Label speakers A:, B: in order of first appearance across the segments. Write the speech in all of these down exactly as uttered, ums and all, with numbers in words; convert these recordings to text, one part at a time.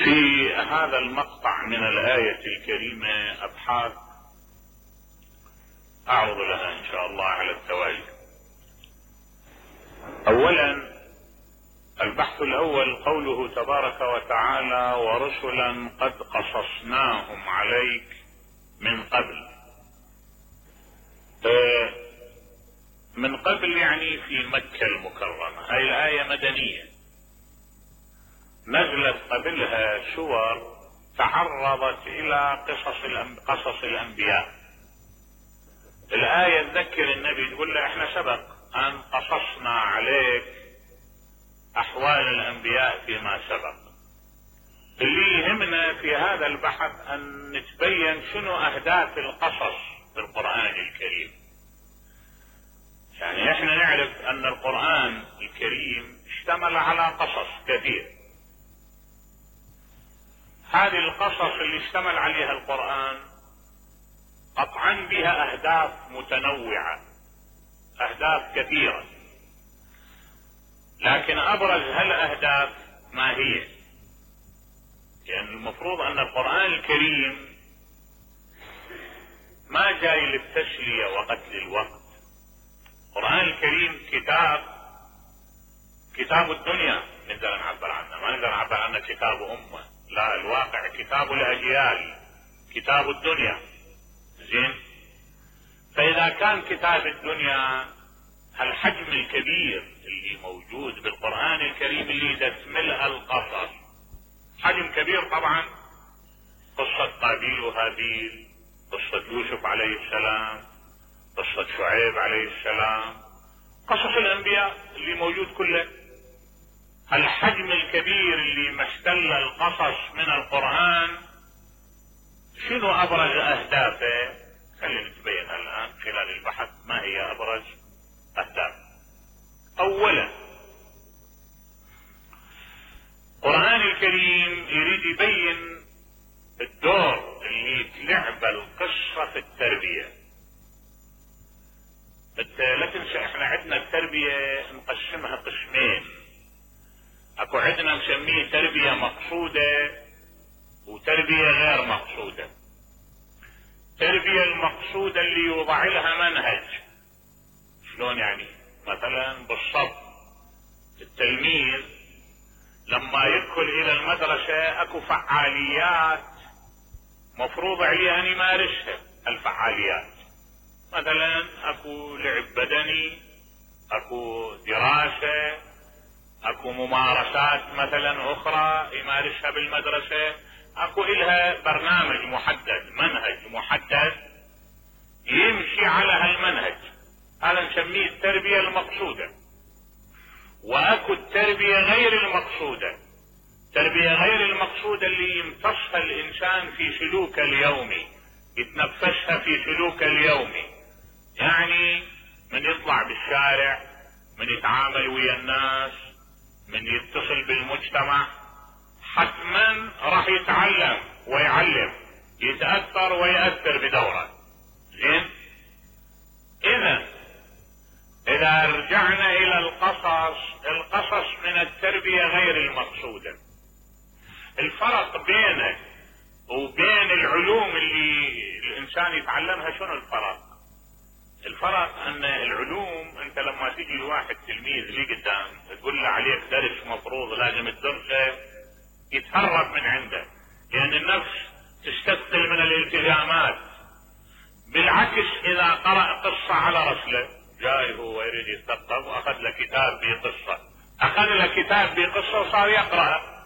A: في هذا المقطع من الآية الكريمة أبحاث أعرض لها إن شاء الله على التوالي. أولا البحث الأول قوله تبارك وتعالى: ورسلا قد قصصناهم عليك من قبل. من قبل يعني في مكة المكرمة. هاي الآية مدنية، نزلت قبلها سور تعرضت إلى قصص قصص الأنبياء. الآية تذكر النبي تقول له احنا سبق أن قصصنا عليك أحوال الأنبياء فيما سبق. اللي يهمنا في هذا البحث أن نتبين شنو أهداف القصص في القرآن الكريم. يعني احنا نعرف أن القرآن الكريم اشتمل على قصص كثير. هذه القصص اللي اشتمل عليها القرآن قطعا بها أهداف متنوعة، أهداف كثيرة، لكن أبرز هالأهداف ما هي؟ يعني المفروض أن القرآن الكريم ما جاي للتسلية وقتل الوقت. القرآن الكريم كتاب كتاب الدنيا نقدر نعبر عنه، ما نقدر نعبر عنه كتاب أمة، لا، الواقع كتاب الأجيال، كتاب الدنيا. زين، فإذا كان كتاب الدنيا هالحجم الكبير اللي موجود بالقرآن الكريم اللي تشملها القصص، حجم كبير طبعا، قصة قابيل وهابيل، قصة يوسف عليه السلام، قصة شعيب عليه السلام، قصص الأنبياء اللي موجود كله. الحجم الكبير اللي محتل القصص من القرآن شنو أبرز أهدافه؟ خلينا نتبين الآن خلال البحث ما هي أبرز أهداف. أولا القرآن الكريم يريد يبين الدور اللي تلعب القصة في التربية. لا تنسى احنا عندنا التربية نقسمها قسمين، اكو عندنا نسميه تربية مقصودة وتربية غير مقصودة. التربية المقصودة اللي يوضع لها منهج. شلون يعني؟ مثلا بالصف التلميذ لما يدخل الى المدرسة اكو فعاليات مفروض عليه ان يمارسها. الفعاليات مثلا اكو لعب بدني، اكو دراسة، اكو ممارسات مثلا اخرى يمارسها بالمدرسة، اكو الها برنامج محدد، منهج محدد يمشي على هالمنهج. هذا نسميه التربية المقصودة. واكو التربية غير المقصودة. التربية غير المقصودة اللي يمتصها الانسان في سلوكه اليومي، يتنفسها في سلوكه اليومي. يعني من يطلع بالشارع، من يتعامل ويا الناس، من يتصل بالمجتمع، حتما راح يتعلم ويعلم، يتأثر ويأثر بدوره. زين، اذا اذا رجعنا الى القصص، القصص من التربية غير المقصودة. الفرق بينه وبين العلوم اللي الانسان يتعلمها شنو الفرق؟ الفرق ان العلوم انت لما تيجي لواحد تلميذ لي قدام تقول له عليك درس مفروض لازم تدرسه، يتهرب من عنده، لان النفس تستثقل من الالتزامات. بالعكس اذا قرأ قصة على رسله، جاي هو يريد يتثقف واخذ له كتاب بقصة، اخذ له كتاب بقصة وصار يقرأ.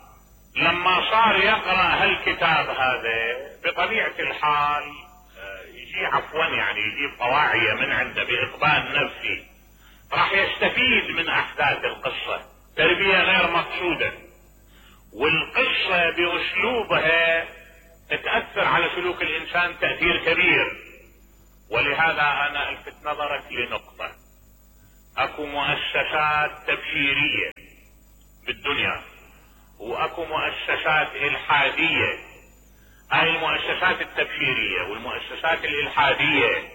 A: لما صار يقرأ هالكتاب هذا بطبيعة الحال يجي عفوا يعني يجيب طواعية من عنده بإقبال نفسي، راح يستفيد من أحداث القصة. تربية غير مقصودة. والقصة بأسلوبها تتأثر على سلوك الإنسان تأثير كبير. ولهذا أنا ألفت نظرك لنقطة. أكو مؤسسات تبشيرية بالدنيا واكو مؤسسات الحادية. هاي المؤسسات التبشيرية والمؤسسات الالحادية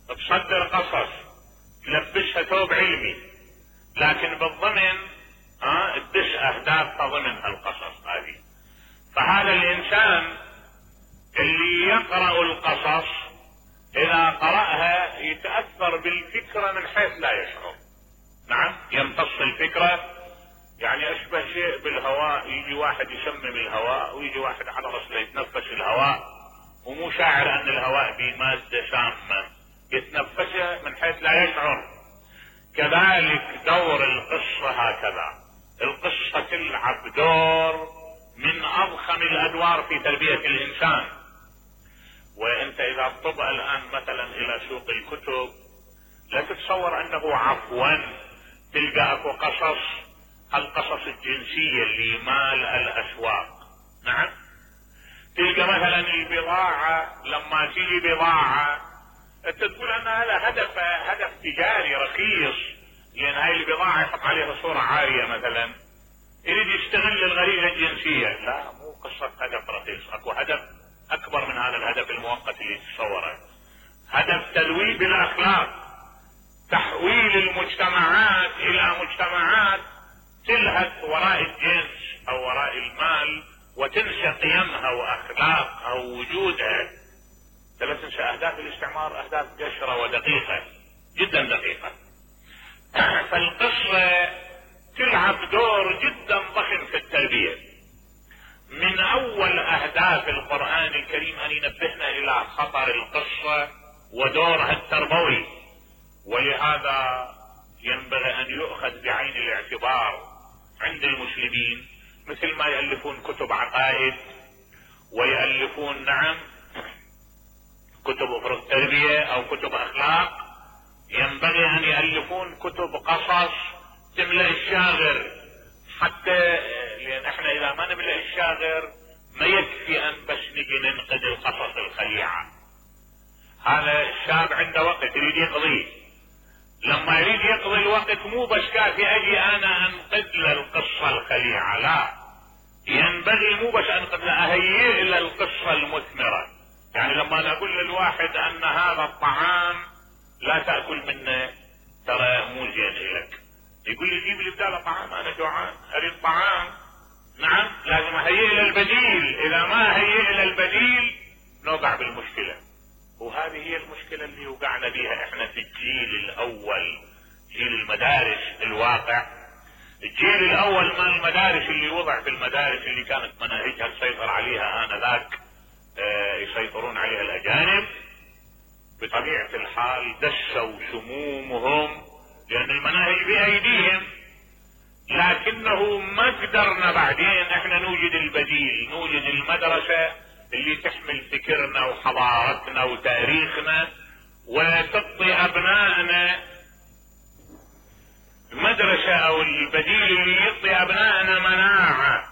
A: تصدر قصص، تلبسها ثوب علمي، لكن بالضمن اه تدش اهداف ضمن هالقصص هذه. يتأثر بالفكرة من حيث لا يشعر. نعم، يمتص الفكرة، يعني اشبه شيء بالهواء، يجي واحد يشمم الهواء ويجي واحد على رسله يتنفس الهواء ومو شاعر ان الهواء به مادة سامة، يتنفسه من حيث لا يشعر. كذلك دور القصة هكذا، القصة تلعب دور من اضخم الادوار في تربية الانسان. وانت اذا تطب الان مثلا الى سوق الكتب لا تتصور انه عفوا تلقى اكو قصص، القصص الجنسية اللي مال الاسواق. نعم، تلقى مثلا البضاعة لما تيجي بضاعة انت تقول انها لها هدف هدف تجاري رخيص، لان هاي البضاعة يحط عليها صورة عارية مثلا، يريد يستغل الغريزة الجنسية. لا، مو قصة هدف رخيص، اكو هدف اكبر من هذا الهدف المؤقت اللي تتصوره، هدف تلويث الاخلاق، تحويل المجتمعات الى مجتمعات تلهث وراء الجنس او وراء المال وتنسى قيمها واخلاقها ووجودها. لا تنسى اهداف الاستعمار اهداف قشرة ودقيقة جدا دقيقة. فالقصة تلعب دور جدا ضخم في التربية. من اول اهداف القرآن الكريم ان ينبهنا الى خطر القصة ودورها التربوي، ولهذا ينبغي ان يؤخذ بعين الاعتبار عند المسلمين، مثل ما يألفون كتب عقائد ويألفون نعم كتب افرق تربية او كتب اخلاق، ينبغي ان يألفون كتب قصص تملأ الشاغر، حتى لان احنا اذا ما نملأ الشاغر ما يكفي ان بس نجي ننقد القصص الخليعة. هذا الشاب عنده وقت يريد يقضيه، لما يريد يقضي الوقت مو بس كافي اجي انا انقد له القصة الخليعة، لا، ينبغي مو بس انقد له، اهيئ له القصة المثمرة. يعني لما انا اقول للواحد ان هذا الطعام لا تأكل منه ترى مو زين لك، يقول لي جيب لي بداله طعام، انا جوعان اريد طعام. نعم، لازم اهيئ له البديل، اذا ما هيئ له البديل نوقع بالمشكلة. وهذه هي المشكلة اللي وقعنا بيها احنا في الجيل الاول، جيل المدارس الواقع. الجيل الاول من المدارس اللي وضع في المدارس اللي كانت مناهجها تسيطر عليها انذاك اه يسيطرون عليها الاجانب، بطبيعة الحال دسوا سمومهم لان المناهج بايديهم، لكنه ما قدرنا بعدين احنا نوجد البديل، نوجد المدرسة اللي تحمل فكرنا وحضارتنا وتاريخنا وتعطي ابنائنا مدرسة او البديل اللي يعطي ابنائنا مناعة.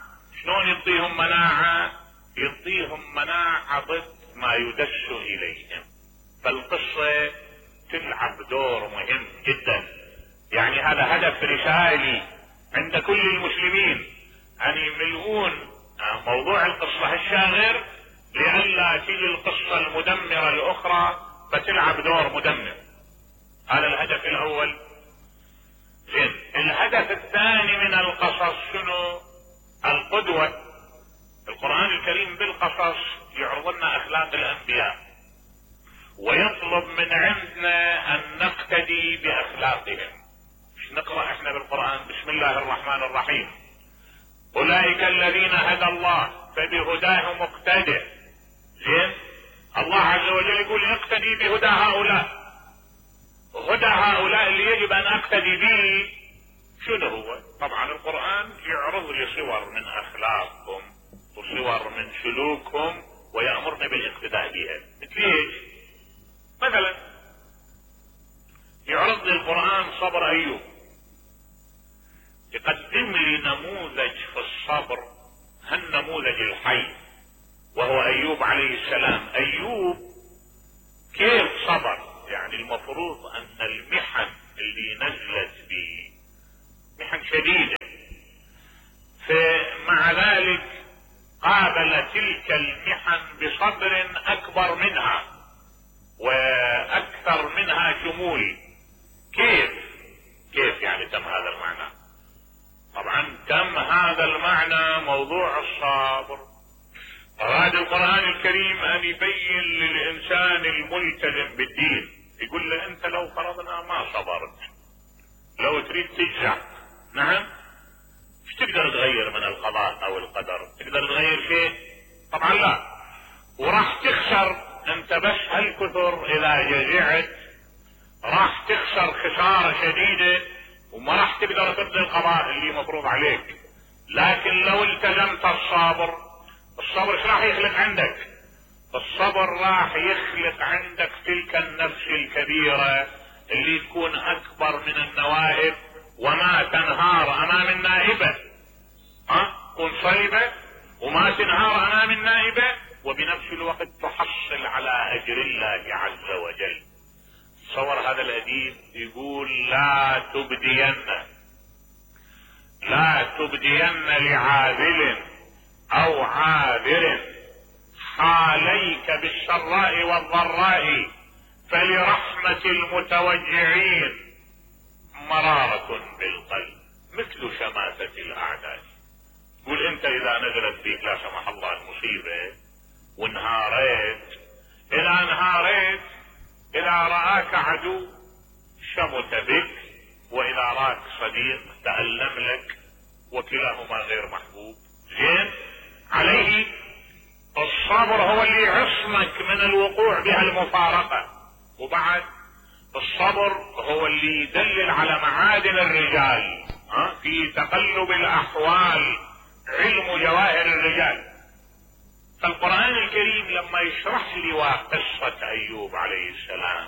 A: شلون يعطيهم مناعة؟ يعطيهم مناعة ضد ما يدس اليهم. فالقصة تلعب دور مهم جدا، يعني هذا هدف رسالي عند كل المسلمين ان يملؤون موضوع القصة الشاغر لئلا تيجي القصة المدمرة الاخرى فتلعب دور مدمر. هذا الهدف الاول. زين، الهدف الثاني من القصص شنو؟ القدوة. القرآن الكريم بالقصص يعرض لنا اخلاق الانبياء ويطلب من عندنا ان نقتدي باخلاقهم. مش نقرأ احنا بالقرآن بسم الله الرحمن الرحيم اولئك الذين هدى الله فبهداه مقتدئ. زين، الله عز وجل يقول اقتدي بهدى هؤلاء. هدى هؤلاء اللي يجب ان اقتدي به شنو هو؟ طبعا القرآن يعرض لي صور من اخلاقهم وصور من سلوكهم ويأمرني بالاقتداء بها. مثل ايش؟ مثلا يعرض لي القرآن صبر ايوب، يقدم لي نموذج في الصبر، هالنموذج الحي وهو ايوب عليه السلام. ايوب كيف صبر؟ يعني المفروض ان المحن اللي نزلت به محن شديدة، فمع ذلك قابل تلك المحن بصبر اكبر منها واكثر منها شمول. كيف كيف يعني تم هذا المعنى؟ طبعا تم هذا المعنى موضوع الصبر. أراد القرآن الكريم ان يبين للانسان الملتزم بالدين يقول له انت لو فرضنا ما صبرت، لو تريد تجزع، نعم، ايش تقدر تغير من القضاء او القدر؟ تقدر تغير شيء؟ طبعا لا. وراح تخسر انت بس هالكثر اذا جزعت، راح تخسر خسارة شديدة وما راح تقدر تبذل القضاء اللي مفروض عليك. لكن لو التزمت الصبر، الصبر ايش راح يخلق عندك؟ الصبر راح يخلق عندك تلك النفس الكبيرة اللي تكون اكبر من النوائب وما تنهار امام النائبة، ها تكون صلبة وما تنهار امام النائبة، وبنفس الوقت تحصل على اجر الله عز وجل. تصور هذا الاديب يقول لا تبدين لا تبدين لعاذل او عاذر حاليك بالسراء والضراء، فلرحمة المتوجعين مرارة بالقلب مثل شماتة الاعداء. قول انت اذا نزلت بك لا سمح الله المصيبة وانهاريت، اذا انهاريت اذا رآك عدو شمت بك، واذا راك صديق تألم لك، وكلاهما غير محبوب. زين، عليه الصبر هو اللي يعصمك من الوقوع بها المفارقة. وبعد الصبر هو اللي يدلل على معادن الرجال، ها في تقلب الاحوال علم جواهر الرجال. فالقرآن الكريم لما يشرح لي قصة ايوب عليه السلام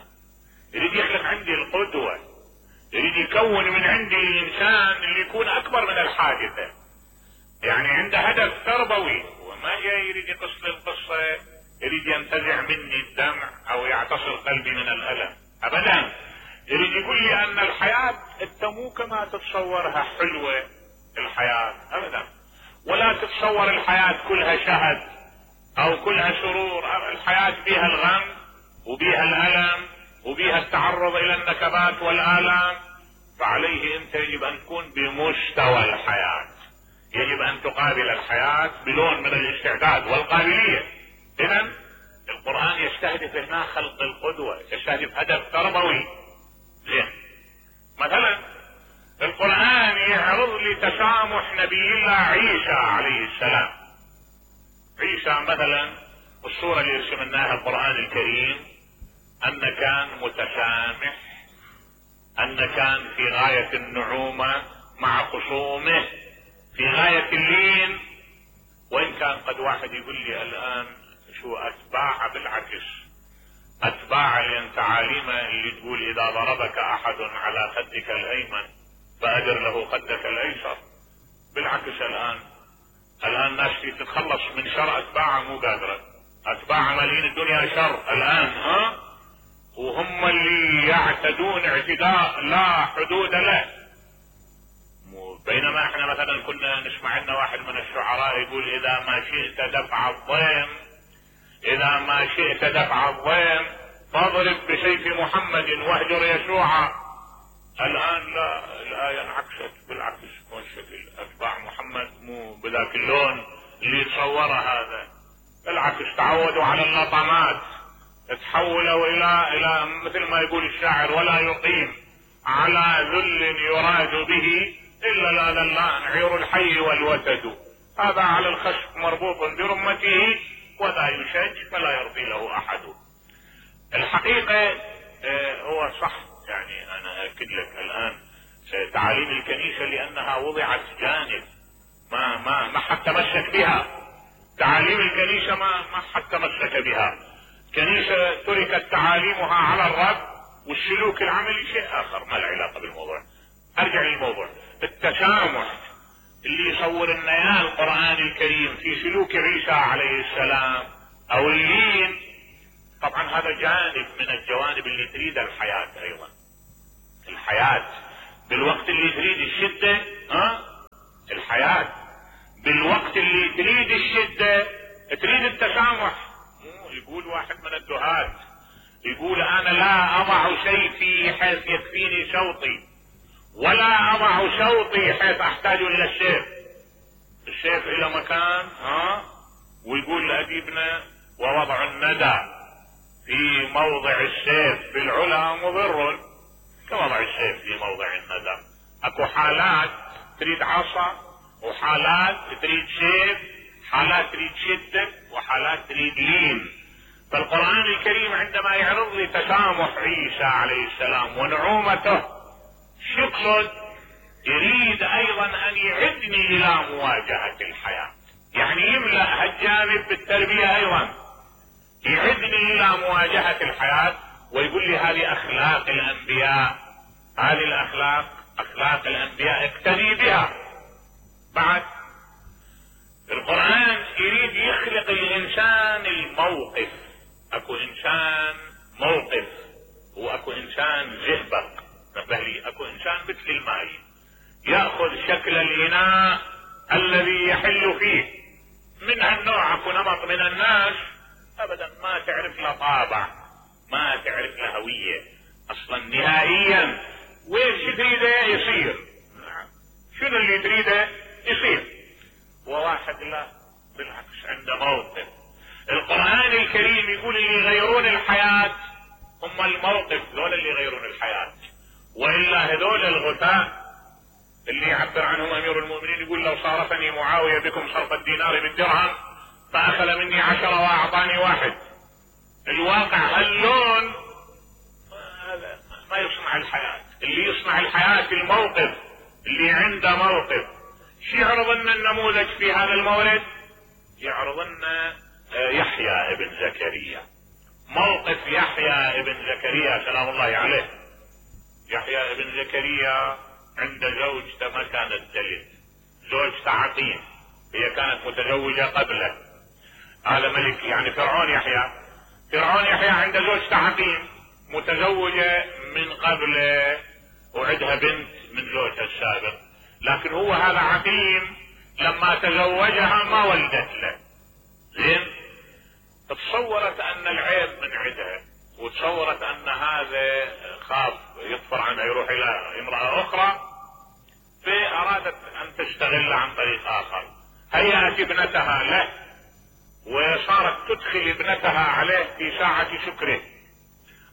A: يريد يخلق عندي القدوة، يريد يكون من عندي الانسان اللي يكون اكبر من الحادثة، يعني عنده هدف تربوي، وما جاي يريد يقص القصة يريد ينتزع مني الدمع او يعتصر قلبي من الالم، ابدا. يريد يقول لي ان الحياة انت مو كما تتصورها حلوة الحياة ابدا، ولا تتصور الحياة كلها شهد او كلها سرور. الحياة بيها الغم وبيها الالم وبيها التعرض الى النكبات والالام. فعليه انت يجب ان تكون بمستوى الحياة، يجب ان تقابل الحياة بلون من الاستعداد والقابلية. اذا القرآن يستهدف هنا خلق القدوة، يستهدف هدف تربوي. زين، مثلا القرآن يعرض لي تسامح نبي الله عيسى عليه السلام. عيسى مثلا الصورة اللي يرسمناها القرآن الكريم ان كان متسامح، ان كان في غاية النعومة مع خصومه، في غاية اللين. وان كان قد واحد يقول لي الان شو اتباع، بالعكس اتباع لان تعاليمه اللي تقول اذا ضربك احد على خدك الايمن فادر له خدك الايسر. بالعكس الان الان ناس تتخلص من شر اتباعه مو قادرة، اتباع مالين الدنيا شر الان، ها وهم اللي يعتدون اعتداء لا حدود له. بينما احنا مثلا كنا نسمع لنا واحد من الشعراء يقول اذا ما شئت دفع الضيم اذا ما شئت دفع الضيم فاضرب بسيف محمد واهجر يشوعا. الان لا، الايه انعكست بالعكس، مو الشكل اتباع محمد مو بذاك اللون اللي يتصوره هذا، بالعكس تعودوا على اللطمات، تحولوا الى الى مثل ما يقول الشاعر ولا يقيم على ذل يراد به الا لا لله عير الحي والوتد. هذا على الخشب مربوط برمته ولا يشج فلا يرضي له احد. الحقيقة اه هو صح، يعني انا اكد لك الان تعاليم الكنيسة لانها وضعت جانب ما ما ما حد تمسك بها. تعاليم الكنيسة ما ما حد تمسك بها. كنيسة تركت تعاليمها على الرب، والسلوك العملي شيء اخر ما له علاقة بالموضوع. ارجع للموضوع، التسامح اللي يصور لنا القرآن الكريم في سلوك عيسى عليه السلام او اللين، طبعا هذا جانب من الجوانب اللي تريد الحياة. ايضا الحياة بالوقت اللي تريد الشدة، ها الحياة بالوقت اللي تريد الشدة تريد التسامح. يقول واحد من الدهاة يقول انا لا اضع سيفي حيث يكفيني شوطي، ولا اضع شوطي حيث احتاج الى السيف. السيف الى مكان، ها ويقول لاديبنا ووضع الندى في موضع السيف بالعلا مضر كوضع السيف في موضع الندى. اكو حالات تريد عصا، وحالات تريد سيف، حالات تريد شدة، وحالات تريد لين. فالقرآن الكريم عندما يعرض لي تسامح عيسى عليه السلام ونعومته، شو يقصد؟ يريد ايضا ان يعدني الى مواجهة الحياة، يعني يملأ هالجانب بالتربية ايضا، يعدني الى مواجهة الحياة، ويقول لي هذه اخلاق الانبياء، هذه الاخلاق اخلاق الانبياء اقتدي بها. بعد القرآن يريد يخلق الانسان الموقف، اكو انسان موقف واكو انسان زئبق. نبه لي اكو انسان مثل الماء يأخذ شكل الاناء الذي يحل فيه. من هالنوع اكو نمط من الناس ابدا ما تعرف له طابع، ما تعرف له هوية اصلا نهائيا. وين شو تريده يصير، شنو اللي تريده يصير. وواحد لا بالعكس عنده موقف. القرآن الكريم يقول اللي يغيرون الحياة هم الموقف، ذول اللي يغيرون الحياة. وإلا هذول الغثاء اللي يعبر عنهم امير المؤمنين يقول لو صارفني معاوية بكم صرف الدينار بالدرهم فاخذ مني عشرة واعطاني واحد. الواقع هاللون هذا ما يصنع الحياة. اللي يصنع الحياة الموقف، اللي عنده موقف. شو يعرض لنا النموذج في هذا المورد؟ يعرض لنا يحيى ابن زكريا، موقف يحيى ابن زكريا سلام الله عليه. يحيى ابن زكريا عند زوجته ما كانت تلد، زوجته عقيم، هي كانت متزوجة قبله. هذا ملك يعني فرعون يحيى، فرعون يحيى عند زوجته عقيم متزوجة من قبله وعندها بنت من زوجها السابق. لكن هو هذا عقيم لما تزوجها ما ولدت له. زين، تصورت ان العيب من عندها، وتصورت ان هذا خاف يطفر عنها يروح الى امرأة اخرى، فارادت ان تستغل عن طريق اخر. هيأت ابنتها له وصارت تدخل ابنتها عليه في ساعة شكره.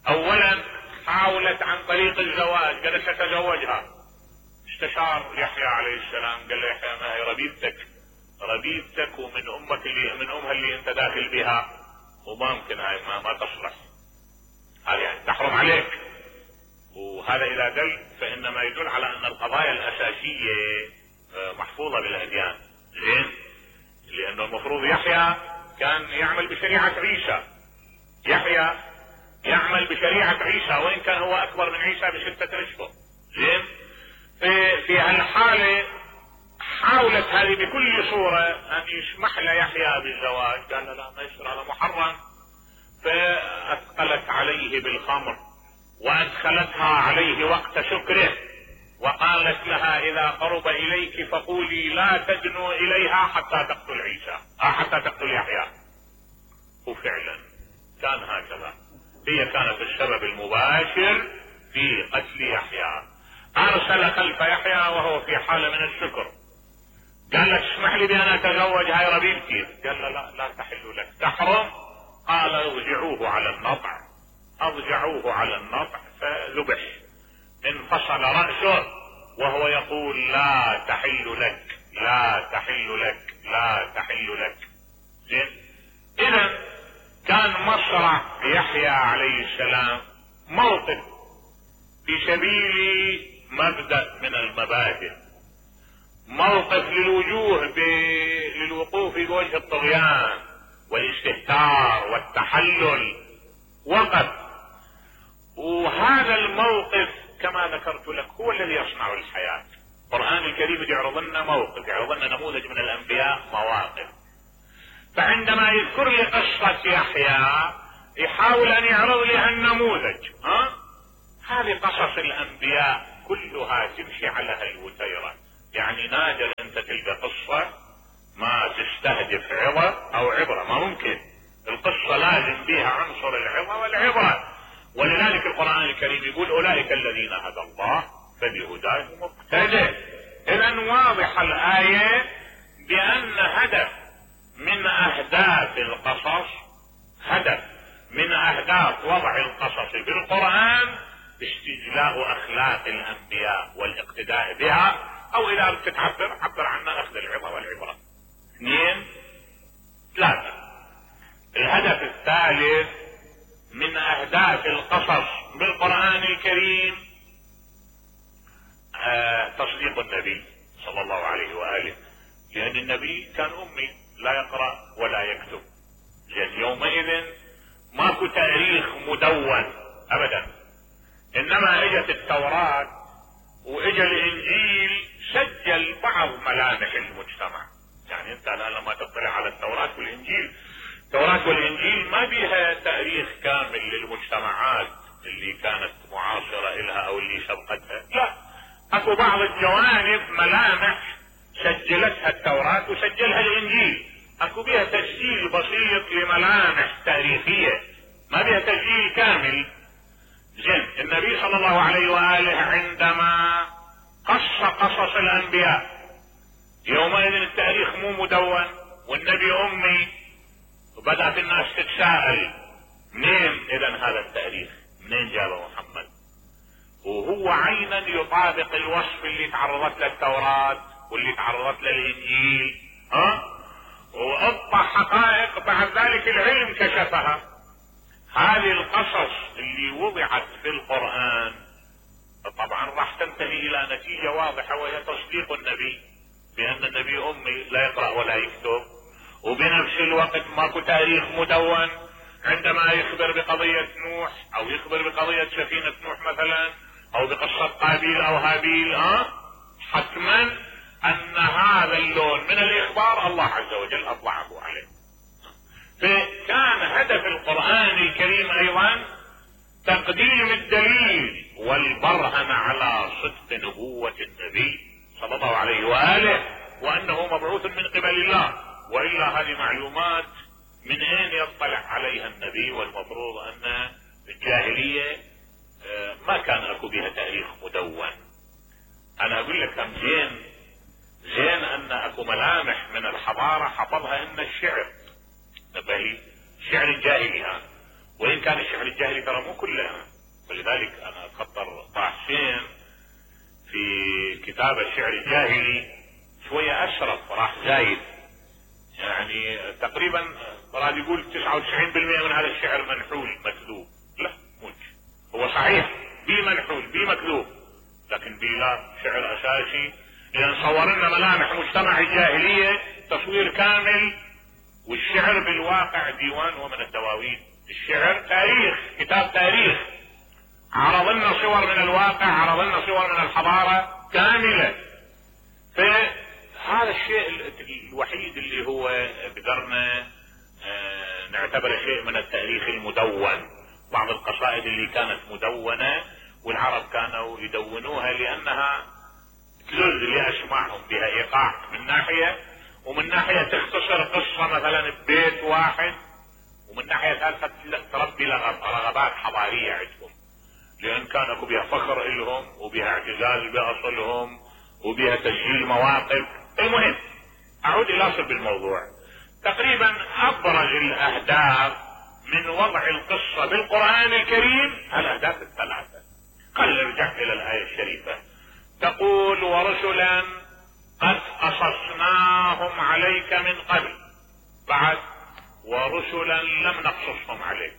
A: اولا حاولت عن طريق الزواج، قالت ستزوجها. استشار يحيى عليه السلام قال له يحيى ما هي ربيبتك، ربيبتك ومن امك اللي من امها اللي انت داخل بها، وما ممكن هاي ما, ما تصلح، هذه يعني تحرم عليك. وهذا اذا دل فانما يدل على ان القضايا الاساسية محفوظة بالاديان. زين، لانه المفروض يحيى كان يعمل بشريعة عيسى، يحيى يعمل بشريعة عيسى وان كان هو اكبر من عيسى بستة اشهر. زين، في في هالحالة حاولت هذه بكل صورة ان يسمح له يحيى بالزواج، قال لا ما يصير هذا محرم. فاثقلت عليه بالخمر وادخلتها عليه وقت شكره، وقالت لها اذا قرب اليك فقولي لا تدنو اليها حتى تقتل عيسى آه حتى تقتل يحيى. وفعلا كان هكذا، هي كانت السبب المباشر في قتل يحيى. ارسل خلف يحيى وهو في حالة من الشكر، قال لك اسمح لي بان اتزوج هاي ربيبتي، قال لا لا, لا تحل لك، تحرم. قال ارجعوه على النطع، ارجعوه على النطع فذبح، انفصل رأسه وهو يقول لا تحل لك لا تحل لك لا تحل لك. زين، اذا كان مصرع يحيى عليه السلام موقف في سبيل مبدأ من المبادئ، موقف للوجوه ب... للوقوف بوجه الطغيان والاستهتار والتحلل، وقف. وهذا الموقف كما ذكرت لك هو الذي يصنع الحياة. القرآن الكريم يعرض لنا موقف، يعرض لنا نموذج من الانبياء، مواقف. فعندما يذكر لي قصة يحيى يحاول ان يعرض لي هالنموذج. ها هذه قصص الانبياء كلها تمشي على هالوتيرة، يعني نادر انت تلقى قصة ما تستهدف عظة او عبرة، ما ممكن. القصة لازم فيها عنصر العظة والعبرة. ولذلك القرآن الكريم يقول اولئك الذين هدى الله فبهداه مقتدى. اذا واضح الآية بان هدف من اهداف القصص، هدف من اهداف وضع القصص في القرآن استجلاء اخلاق الانبياء والاقتداء بها، او اذا بدك تعبر عبر عنها اخذ العظة والعبرة. اثنين ثلاثة. الهدف الثالث من اهداف القصص بالقرآن الكريم آه تصديق النبي صلى الله عليه وآله، لان النبي كان امي لا يقرأ ولا يكتب، لان يومئذ ماكو تاريخ مدون ابدا، انما اجت التوراة واجى الانجيل سجل بعض ملامح المجتمع. يعني انت الان لما تطلع على التوراة والانجيل، التوراة والانجيل ما بيها تاريخ كامل للمجتمعات اللي كانت معاصرة لها او اللي سبقتها، لا، اكو بعض الجوانب ملامح سجلتها التوراة وسجلها الانجيل، اكو بيها تسجيل بسيط لملامح تاريخية، ما بيها تسجيل كامل. زين، النبي صلى الله عليه وآله عندما قص قصص الانبياء، يومئذ التاريخ مو مدون والنبي امي، وبدأت الناس تتساءل منين اذا هذا التاريخ، منين جابه محمد؟ وهو عينا يطابق الوصف اللي تعرضت له التوراة واللي تعرضت له الانجيل، ها؟ وابطى حقائق بعد ذلك العلم كشفها. هذه القصص اللي وضعت في القرآن طبعا راح تنتهي الى نتيجة واضحة، وهي تصديق النبي بان النبي امي لا يقرأ ولا يكتب، وبنفس الوقت ماكو تاريخ مدون. عندما يخبر بقضية نوح او يخبر بقضية سفينة نوح مثلا، او بقصة قابيل او هابيل، ها، حتما ان هذا اللون من الاخبار الله عز وجل اطلعه عليه. فكان هدف القرآن الكريم ايضا تقديم الدليل والبرهن على صدق نبوة النبي صلى الله عليه وآله، وانه مبعوث من قبل الله، والا هذه معلومات من اين يطلع عليها النبي؟ والمفروض ان الجاهلية ما كان اكو بها تاريخ مدون. انا اقول لك هم زين زين ان اكو ملامح من الحضارة حفظها ان الشعر، نبهي الشعر الجاهلي، ها، وان كان الشعر الجاهلي ترى مو كله، ولذلك انا خطر طه حسين في كتاب الشعر الجاهلي شوية اشرف، راح زايد، يعني تقريبا راد يقول تسعة وتسعين بالمئة من هذا الشعر منحول مكذوب. لا، مش هو صحيح بي منحول بي مكذوب، لكن بي لا شعر اساسي، لان صور لنا ملامح مجتمع الجاهلية تصوير كامل. والشعر بالواقع ديوان ومن الدواوين، الشعر تاريخ، كتاب تاريخ، عرض لنا صور من الواقع، عرض لنا صور من الحضارة كاملة. فهذا الشيء الوحيد اللي هو بقدرنا نعتبره شيء من التاريخ المدون. بعض القصائد اللي كانت مدونة والعرب كانوا يدونوها لانها تلذ لاسماعهم، بها ايقاع من ناحية، ومن ناحية تختصر قصة مثلا ببيت واحد، ومن ناحية ثالثة تربي رغبات حضارية عندهم، لان كان اكو بها فخر الهم وبها اعتزاز باصلهم وبها تسجيل مواقف. المهم اعود الى صلب الموضوع. تقريبا ابرز الاهداف من وضع القصة بالقرآن الكريم الاهداف الثلاثة. خلينا نرجع الى الاية الشريفة، تقول ورسلا قد قصصناهم عليك من قبل، بعد ورسلا لم نقصصهم عليك.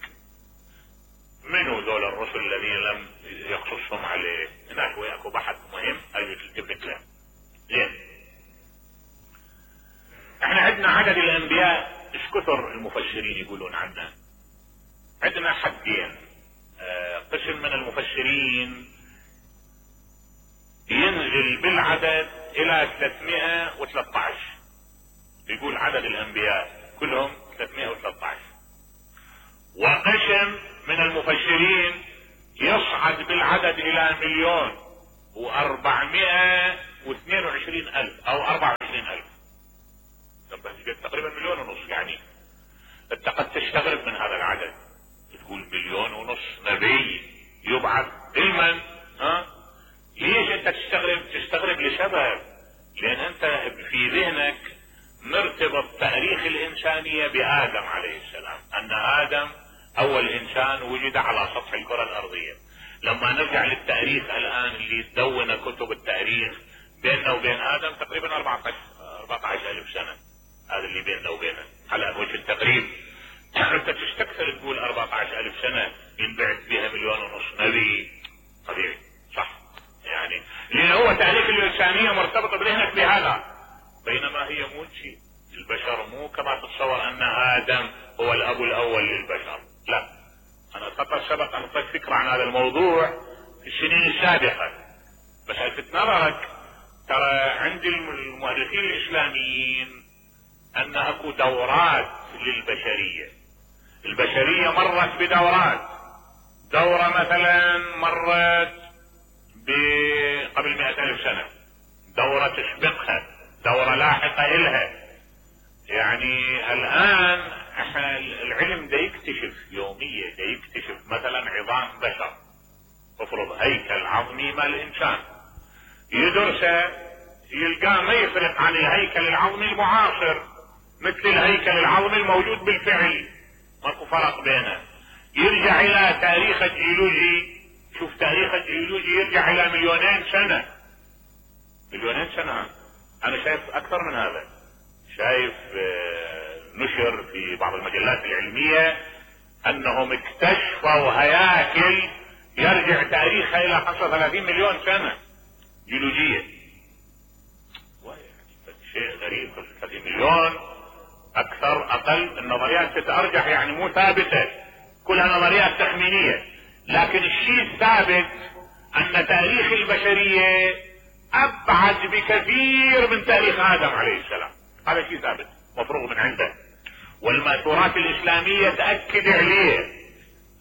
A: منو ذول الرسل الذين لم يقصصهم عليه؟ هناك وياكو بحث مهم هاي تلتفت له. زين، احنا عندنا عدد الانبياء ايش كثر المفسرين يقولون عنه؟ عندنا حدين. آه قسم من المفسرين ينزل بالعدد الى ثلاثمائة وثلاثة عشر، يقول عدد الانبياء كلهم ثلاثمائة وثلاثة عشر. وقسم من المفسرين يصعد بالعدد الى مليون واربعمائة واثنين وعشرين الف او اربعة وعشرين الف، تقريبا مليون ونص. يعني انت قد تستغرب من هذا العدد، تقول مليون ونص نبي يبعث علما، ها؟ ليش انت تستغرب؟ تستغرب لسبب، لان انت في ذهنك مرتبط تاريخ الانسانية بادم عليه السلام، ان ادم اول انسان وجد على سطح الكرة الارضية. لما نرجع للتاريخ الان اللي تدون كتب التاريخ بيننا وبين ادم تقريبا أربعة عشر الف سنة، هذا اللي بيننا وبينه على وجه التقريب. انت تستكثر تقول أربعة عشر الف سنة ينبعث بها مليون ونص نبي، طبيعي صح يعني، لان هو تاريخ الانسانية مرتبطة بذهنك بهذا، بينما هي مو شيء. البشر مو كما تتصور ان ادم هو الاب الاول للبشر، لا. انا فقط سبق ان اعطيت فكرة عن هذا الموضوع في السنين السابقة، بس الفت نظرك ترى عند المؤرخين الاسلاميين ان اكو دورات للبشرية. البشرية مرت بدورات، دورة مثلا مرت قبل مئة الف سنة، دورة تسبقها، دورة لاحقة الها. يعني الان احنا العلم دا يكتشف يوميا، دا يكتشف مثلا عظام بشر، افرض هيكل عظمي مال الانسان، يدرسه يلقاه ما يفرق عن الهيكل العظمي المعاصر، مثل الهيكل العظمي الموجود بالفعل، ماكو فرق بينه. يرجع الى تاريخ الجيولوجي، شوف تاريخ الجيولوجي يرجع الى مليونين سنة، مليونين سنة. انا شايف اكثر من هذا، شايف نشر في بعض المجلات العلمية انهم اكتشفوا هياكل يرجع تاريخها الى خمسة وثلاثين مليون سنة جيولوجية. شيء غريب، خمسة وثلاثين مليون اكثر اقل، النظريات تتارجح يعني مو ثابتة، كلها نظريات تخمينية. لكن الشيء الثابت ان تاريخ البشرية ابعد بكثير من تاريخ ادم عليه السلام، هذا شيء ثابت مفروغ من عنده. والمأثورات الاسلامية تأكد عليه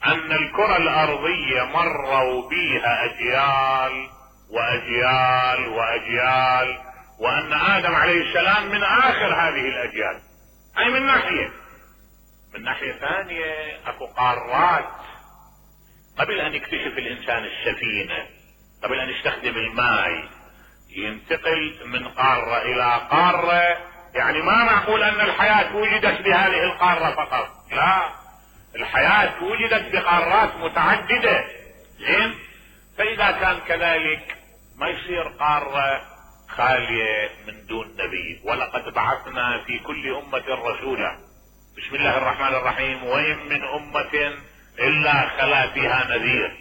A: ان الكرة الارضية مروا بيها اجيال واجيال واجيال، وان ادم عليه السلام من اخر هذه الاجيال. اي من ناحية، من ناحية ثانية اكو قارات قبل ان يكتشف الانسان السفينة، قبل ان يستخدم الماء، ينتقل من قارة الى قارة. يعني ما معقول ان الحياة وجدت بهذه القارة فقط، لا، الحياة وجدت بقارات متعددة. زين، فاذا كان كذلك ما يصير قارة خالية من دون نبي. ولقد بعثنا في كل امة رسولا، بسم الله الرحمن الرحيم، وإن من امة الا خلا فيها نذير.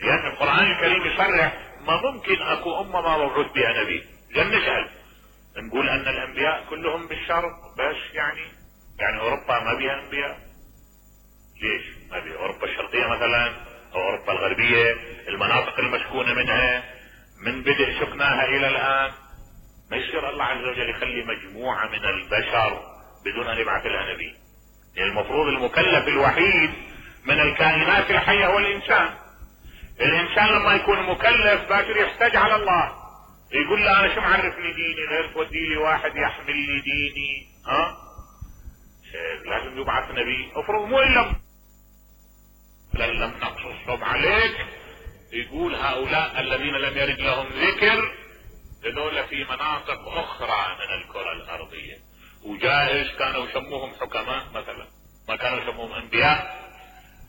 A: لان القرآن الكريم يصرح ما ممكن اكو امة ما موجود بها نبي. لن نسأل نقول ان الانبياء كلهم بالشرق بس، يعني يعني اوروبا ما بيها انبياء؟ ليش ما بيها؟ اوروبا الشرقية مثلا او اوروبا الغربية، المناطق المسكونة منها من بدء سكناها الى الان، ما يصير الله عز وجل يخلي مجموعة من البشر بدون ان يبعث لها نبي. يعني المفروض المكلف الوحيد من الكائنات الحية هو الانسان. الانسان لما يكون مكلف باكر يحتاج على الله، يقول له انا شو معرفني ديني غير تودي لي واحد يحمل لي ديني؟ ها، لازم يبعث نبي. افرض مو الا لم نقصصهم عليك، يقول هؤلاء الذين لم يرد لهم ذكر هذول في مناطق اخرى من الكرة الارضية، وجائز كانوا يسموهم حكماء مثلا، ما كانوا يسموهم انبياء.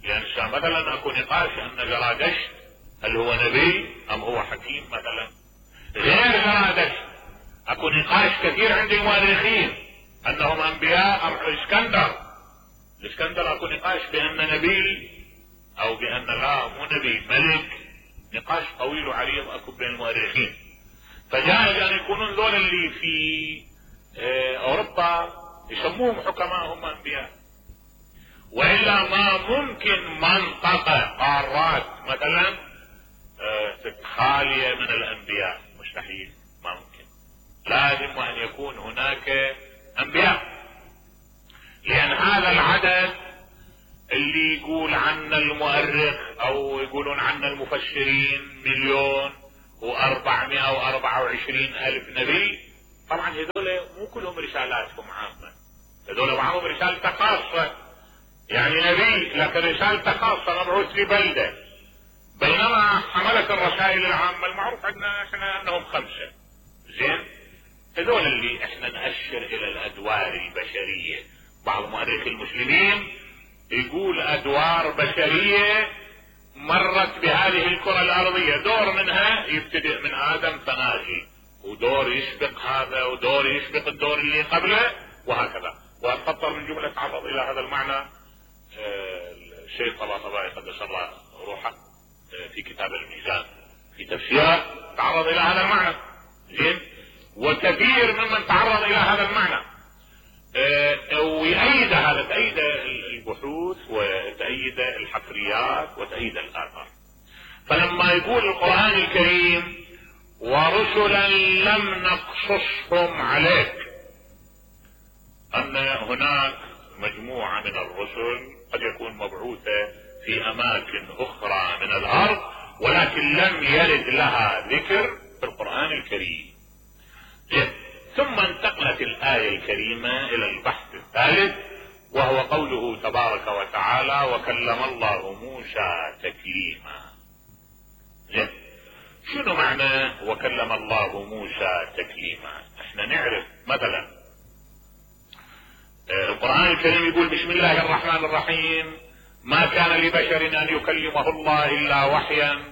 A: لان مثلا اكو نقاش ان زرادشت هل هو نبي ام هو حكيم مثلا. غير زرادشت اكو نقاش كثير عند المؤرخين انهم انبياء ام اسكندر. الاسكندر اكو نقاش بان نبي او بان لا مو نبي، ملك. نقاش طويل وعريض اكو بين المؤرخين. فجائز ان يكونون ذول اللي في اوروبا يسموهم حكماء هم انبياء، والا ما ممكن منطقة قارات مثلا خالية من الانبياء، مستحيل، ما ممكن. لازم ان يكون هناك انبياء، لان هذا العدد اللي يقول عنا المؤرخ او يقولون عنا المفسرين مليون واربعمائة واربعة وعشرين الف نبي، طبعا هذول مو كلهم رسالاتهم عامة، هذول معهم رسالة خاصة، يعني نبي لكن رسالة خاصة مبعوث لبلدة. بينما حملة الرسائل العامة المعروف عندنا احنا انهم خمسة. زين، هذول اللي احنا نأشر الى الادوار البشرية. بعض مؤرخي المسلمين يقول ادوار بشرية مرت بهذه الكرة الارضية، دور منها يبتدئ من ادم فناجي، ودور يسبق هذا، ودور يسبق الدور اللي قبله، وهكذا. واتخطر من جملة تعرض الى هذا المعنى الشيخ طباطبائي قدس الله روحه في كتاب الميزان في تفسيره، تعرض الى هذا المعنى. زين، وكثير ممن تعرض الى هذا المعنى ويأيد هذا، تأيد البحوث وتأيد الحفريات وتأيد الآثار. فلما يقول القرآن الكريم ورسلا لم نقصصهم عليك، أن هناك مجموعة من الرسل قد يكون مبعوثة في أماكن أخرى من الأرض ولكن لم يرد لها ذكر في القرآن الكريم. ثم انتقلت الآية الكريمة إلى البحث الثالث، وهو قوله تبارك وتعالى وكلم الله موسى تكليما. شنو معنى وكلم الله موسى تكليما؟ احنا نعرف مثلا القرآن الكريم يقول بسم الله الرحمن الرحيم ما كان لبشر ان يكلمه الله الا وحيا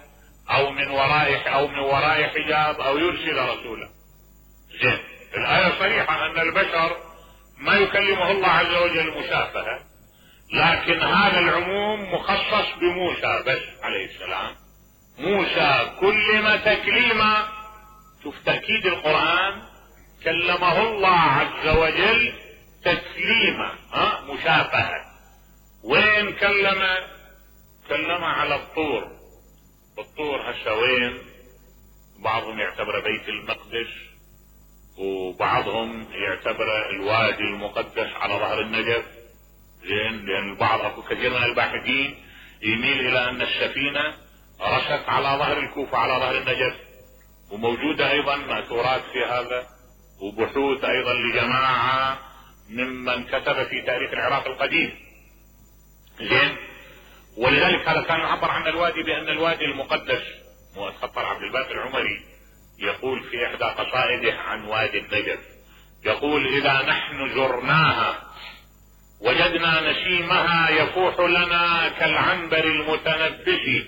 A: او من وراء او من وراء حجاب او يرسل رسولا. زين، الآية صريحة ان البشر ما يكلمه الله عز وجل مشافهة، لكن هذا العموم مخصص بموسى بس عليه السلام. موسى كلم تكليما. شوف تأكيد القرآن، كلمه الله عز وجل تكليما، ها مشافهة. وين كلم؟ كلم على الطور. الطور هسه وين؟ بعضهم يعتبر بيت المقدس، وبعضهم يعتبر الوادي المقدس على ظهر النجف. زين، لان البعض اكو كثير من الباحثين يميل الى ان السفينة رست على ظهر الكوفة على ظهر النجف، وموجودة ايضا مأثورات في هذا وبحوث ايضا لجماعة ممن كتب في تاريخ العراق القديم. زين، ولذلك هذا كان يعبر عن الوادي بان الوادي المقدس. واتخطر عبد الباقي العمري يقول في احدى قصائده عن وادي النجف، يقول اذا نحن زرناها وجدنا نسيمها يفوح لنا كالعنبر المتنبس،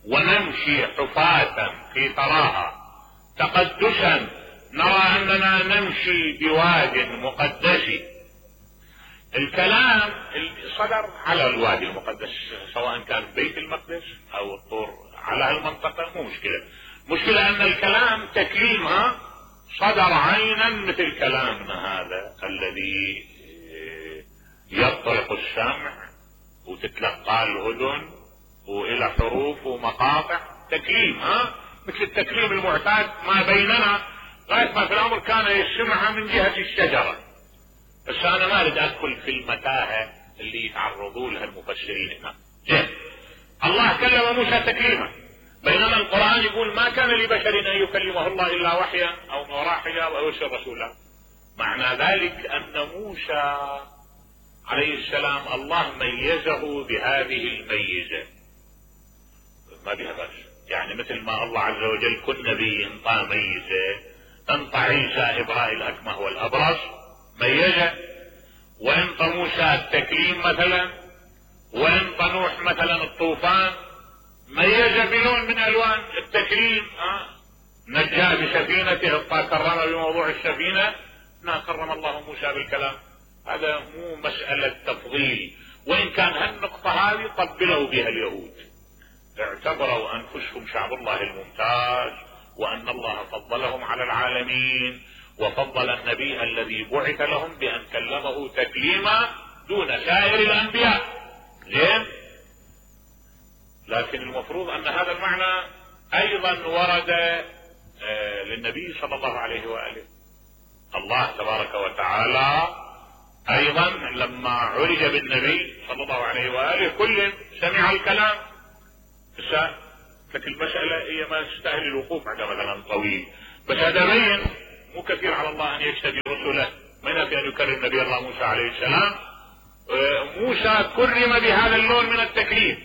A: ونمشي حفاة في ثراها تقدسا نرى اننا نمشي بواد مقدس. الكلام صدر على الوادي المقدس سواء كان بيت المقدس او الطور على هالمنطقة، مو مشكلة. مشكلة ان الكلام تكليمها صدر عينا مثل كلامنا هذا الذي يطرق السمع وتتلقى الاذن والى حروف ومقاطع. تكليم، ها مثل التكليم المعتاد ما بيننا غاية ما في الامر كان يسمعها من جهة الشجرة. بس انا ما اريد ادخل في المتاهة اللي يتعرضوا لها المفسرين هنا. جه الله كلم موسى تكليما، بينما القرآن يقول ما كان لبشر ان يكلمه الله الا وحيا او من وراء حجاب او يرسل رسولا. معنى ذلك ان موسى عليه السلام الله ميزه بهذه الميزة، ما بها بس. يعني مثل ما الله عز وجل كل نبي انطى ميزة، انطى عيسى ابراء الاكمه والابرص ميزة، وانطى موسى التكليم مثلا، وانطى نوح مثلا الطوفان ميزة بلون من الوان التكريم. اه نجاه بسفينته، كرم بموضوع السفينة، ما كرم الله موسى بالكلام. هذا مو مسألة تفضيل، وان كان هالنقطة هذه قبلوا بها اليهود، اعتبروا انفسهم شعب الله الممتاز وان الله فضلهم على العالمين، وفضل النبي الذي بعث لهم بان كلمه تكليما دون سائر الانبياء. زين، لكن المفروض ان هذا المعنى ايضا ورد آه للنبي صلى الله عليه وآله. الله تبارك وتعالى ايضا لما عرج بالنبي صلى الله عليه وآله كل سمع الكلام. لكن المسألة هي ما تستاهل الوقوف عند مثلا طويل، بس هذا بين مو كثير على الله ان يجتبي رسله، ما ينفي ان يكرم نبي الله موسى عليه السلام. آه موسى كرم بهذا اللون من التكليف.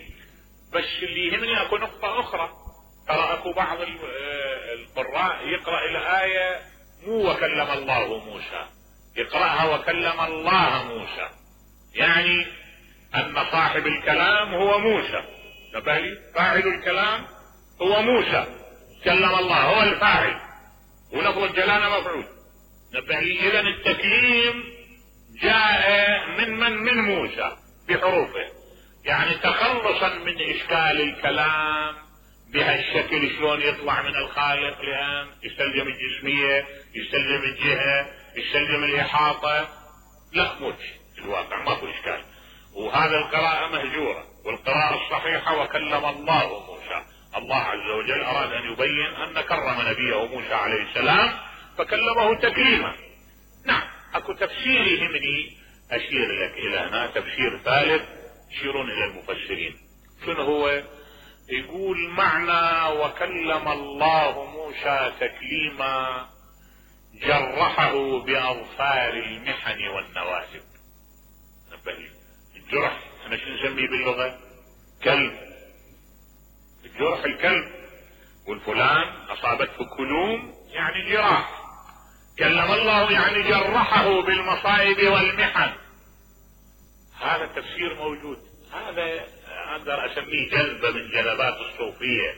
A: بس اللي يهمني اكو نقطة اخرى، ترى اكو بعض القراء يقرأ الآية مو وكلم الله موسى، يقرأها وكلم الله موسى. يعني ان صاحب الكلام هو موسى. نبه لي فاعل الكلام هو موسى، كلم الله هو الفاعل، ولفظ الجلالة مفعول. نبه لي اذا التكليم جاء من من من موسى بحروفه، يعني تخلصا من اشكال الكلام بهالشكل شلون يطلع من الخالق، لان يستلزم الجسمية، يستلزم الجهة، يستلزم الاحاطة. لا موش الواقع ماكو اشكال، وهذا القراءة مهجورة. والقراءة الصحيحة وكلم الله موسى، الله عز وجل اراد ان يبين ان كرم نبيه موسى عليه السلام فكلمه تكليما. نعم اكو تفسير يهمني اشير لك الى هنا، تفسير ثالث يشيرون الى المفسرين. شنو هو؟ يقول معنى وكلم الله موسى تكليما جرحه باظفار المحن والنواسب. الجرح احنا شو نسميه باللغة؟ كلب. الجرح الكلب، والفلان اصابته كلوم يعني جراح. كلم الله يعني جرحه بالمصائب والمحن. هذا التفسير موجود، هذا اقدر اسميه جذبة من جذبات الصوفية،